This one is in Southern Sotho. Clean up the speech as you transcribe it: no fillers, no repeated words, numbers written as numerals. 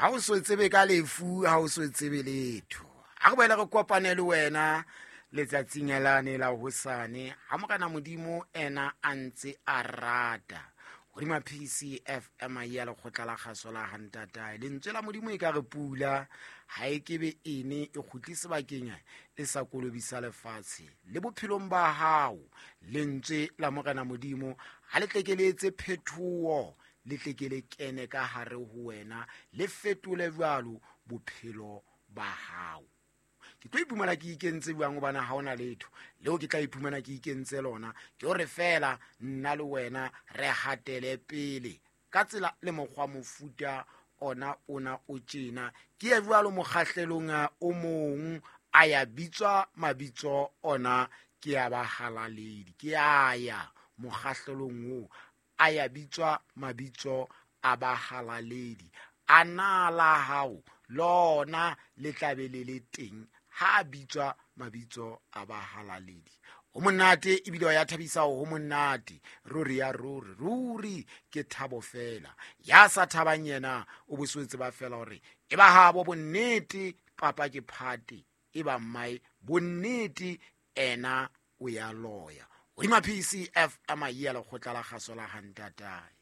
Ha o so tsebe ka lefu, ha o so tsebe letho. A re boele re kopane le wena letsatsing lane la hosane, ha Morena Modimo ena a ntse a rata. Hodima PCFM ya lekgotla la kgaso la hantatae, lentswe la Modimo e ka re pula ha e kebe ene e kgutle sebakeng e sa kolobisa lefatshe. Le bophelong ba hao, lentswe la Morena Modimo ha le tle ke le etse phethoho, le tle ke le kene ka hare ho wena, le fetole jwalo bophelo ba hao. Ke tlo iphumana ke ikentse jwang, hobane ha hona letho leo ke tla iphumana ke ikentse lona. Ke hore feela nna le wena re hatele pele ka tsela le mokgwa mofuta ona ona o tjena. Ke ye jwalo mokgahlelong o mong, a ya bitswa mabitso ona ke ya bahalaledi. Ke a ya mokgahlelong oo, a ya bitswa mabitso a bahalaledi. A na la hao lona le tla be le le teng ha a bitswa mabitso a bahalaledi. Ho monate ebile wa ya thabisa, ho monate ruri ya ruri ruri, ke thabo fela. Ya sa thabang yena o boswetse ba fela hore e ba habo bonnete, papa ke phate, e ba mmae bonnete, ena o ya loya. Hodima PCFM ya lekgotla la kgaso la hantatae.